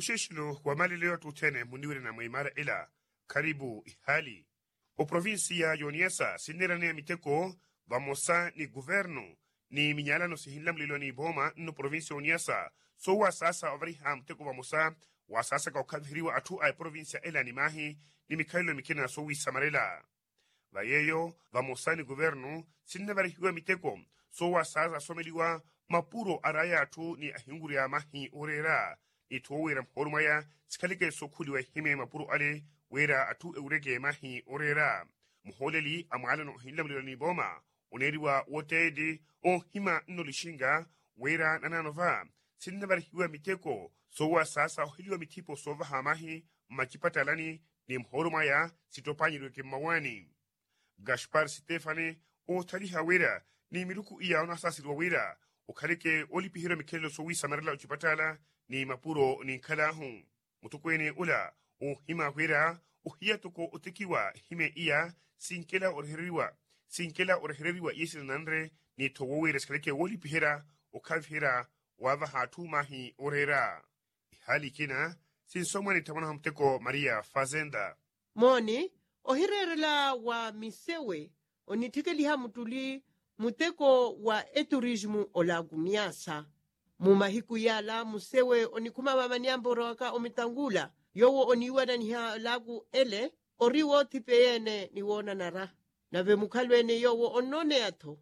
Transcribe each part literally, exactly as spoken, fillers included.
Muxeexelo wa malelo y'atthu othene muniwirana mwa imara ela. Kharipu ihaali. Oprovincia y'oniyasa sinneeraneya miteko vamosa ni kuvernu ni minyalano sihinlamuleliwa n'ipooma nno provincia y'oniyasa, soowasaasa ovariha muteko vamosa wasaasaka okhaviheriwa atthu a eprovincia ela ni maahi ni mikhalelo mikina soowisamarela. Va yeeyo vamosa ni kuvernu sinnavarihiwa miteko soowasaasa asomeliwa mapuro araya atthu ni ahinkurya mahi ooreera, n'itthu woowira muhoolo mwaya sikhaleke sookhuliwa ehime mapuro ale wira atthu ewureke mahi ooreera. Muhooleli a mwaalano ohinlamuliwa n'ipooma oneeriwa woteeli oohima nno lixinga wira nanano va sinnavarihiwa miteko soowasaasa oheliwa mithipo soovaha mahi mmacipatalani ni muhoolo mwaya sittopanyiweke mmawaani. Gaspar stefani oothaliha wira ni miruku iya onasaaseriwa wira okhaleke oolipiheriwa mikhelelo soowisamarela ocipatala ni mapuro ninkhal'ahu. Mutokweene ola oohima wira ohiya toko otekiwa ehime iya sinkela orehereriwa sinkela orehereriwa iye sinananre ni tho woowira sikhaleke woolipiherya okhaviherya waavaha atthu mahi ooreera. Ihaali ikina sinsomwa ni thamwanahu muteko maria fazenda. Mooni ohireerela wa misewe onitthikeliha muttuli muteko wa eturismu olaaku niasa. Mu mahiku yaala musewe onikhuma vamaniyampa orowaka omitangula yoowo oniiwananiha olaaku ele ori woothipeya-ene ni woonanara. Nave mukhalweene yoowo onnooneya-tho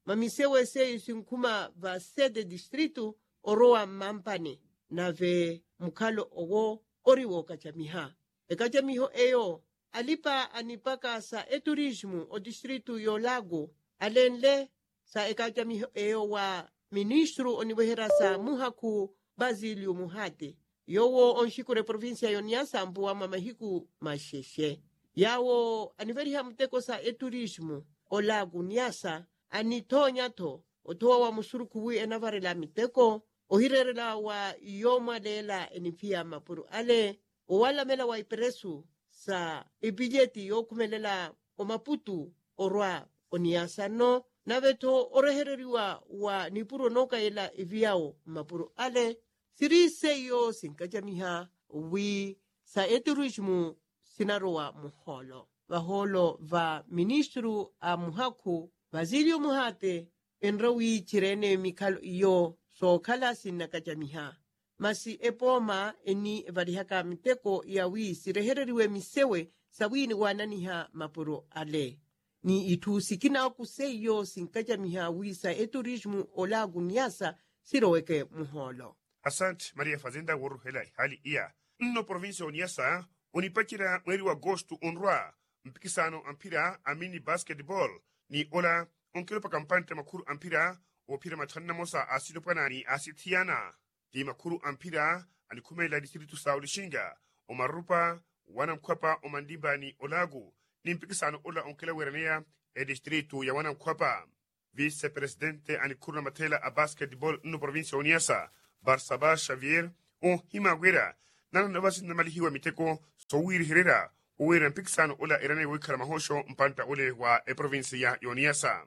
mamisewe seiyo sinkhuma va sete distritu orowa mmampani. Nave mukhalo owo ori wookacamiha ekacamiho eyo alipa anipaka sa eturismu otistritu y'olaaku alenle sa ekacamiho eyo wa ministru oniweherya sa muhakhu basilio muhati yoowo onxikura eprovincia y'oniyasa mpuwa mwa mahiku maxexe. Yaawo aniveriha muteko sa eturismu olaaku niyasa anithoonya-tho othowa wa musurukhu wi enavarela miteko ohireerela wa yoomwaleela eniphiya mmapuro ale owalamela wa iperesu sa epileti yookhumelela omaputu orwa oniyasa nno nave-tho orehereriwa wa nipuro nookayela eviyawo mmapuro ale. Siri seiyo sinkacamiha wi sa eturismu sinarowa muhoolo vahoolo va ministru a muhakhu basilio muhati enre wi cireene mikhalo iyo sookhala sinnakacamiha. Masi epooma eni evarihaka miteko ya wi sirehereriwe misewe sa wi niwaananiha mapuro ale ni itthu sikina oku seiyo sinkacamiha wi sa eturismu olaaku niyasa siroweke muhoolo. Asante maria fazenda wooruhela ehaali iya. Nno provincia oniyasa onipacerya mweeri wa agosto onrwa mpikisano a mphira a mini basketball ni ola onkelopaka mpantte makhuru a mphira oophiyerya mathanu namosa a silopwana ni a sithiyana. Ti makhuru a mphira anikhumelela distritu sa olixinga omarupa wanamkhwapa omanlimba ni olaaku ni mpikisano ola onkela weeraneya etistritu ya wanamkhwapa. Vise presidente a nikhuru na matheela a basketball nno provincia oniyasa barsaba xavier oohima wira nanano vasi nnamalihiwa miteko sowiirihererya owiira mpikisano ola eraneye wohikhala mahooxo mpantta ole wa eprovincia y'oniyasa.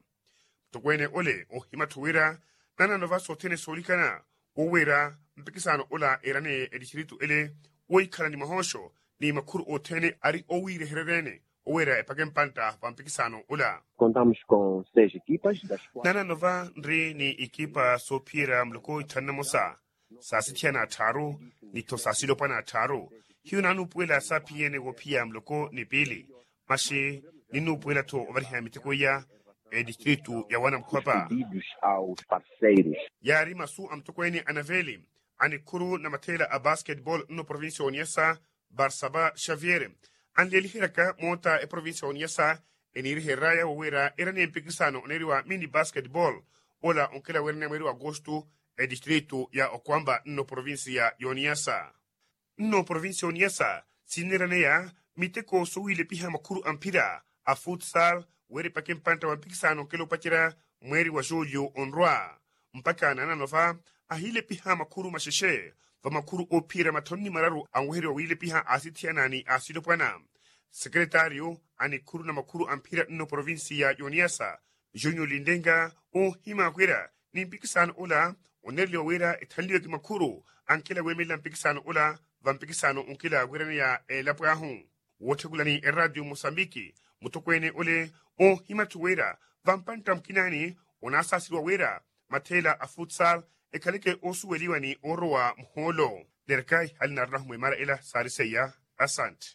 Mutokweene ole oohima-tho wira nanano vasi othene soolikana wowiira mpikisano ola eraneye etistritu ele wohikhala ni mahooxo ni makhuru othene ari owiirihererya-ene oweera epaka empantta va mpikisano ola. Nanano va nri ni ikipa soophiyerya muloko ithanu namosa sa sithiyana atthaaru ni-tho sa silopwana atthaaru. Hiyo naanuupuwela saaphiye-ene woophiya muloko ni piili maxi ninnuupuwela-tho ovariha miteko iya etistritu ya wanamkhwapa. Yaari masu a mutokweene a naveeli a nikhuru na matheela a basketball nno provincia oniyasa barsaba xavier anleeliheryaka moota eprovincia oniyasa eniiriheryaya wowiira eraneye mpikisano oneeriwa mini basketball ola onkela weeraneya mweeri wa agosto etistritu ya okwamba nno provincia y'oniyasa. Nno provincia oniyasa sinneeraneya miteko sowiilepiha makhuru a mphira a futsal wira epaka empantta wa mpikisano onkela opacerya mweeri wa julio onrwa mpaka nanano va ahiilepiha makhuru maxexe va makhuru oophiyerya mathanu ni mararu anwehereriwa wiilepiha a sithiyana ni a silopwana. Sekeretario a nikhuru na makhuru a mphira nno provincia y'oniyasa junio lindenga oohima wira ni mpikisano ola oneereliwa wira ethanliweke makhuru ankela weemelela mpikisano ola vampikisano onkila wiraneya elapo ahu. Wootthekulani eraatiyo mosambiki, mutokweene ole oohima-tho wira vampantta mukinaani onaasaaseriwa wira matheela a futsal ekhaleke oosuweliwa ni oorowa muhoolo. Nerkai hali naarinahu mwiimara ela saari seiya. Asantte.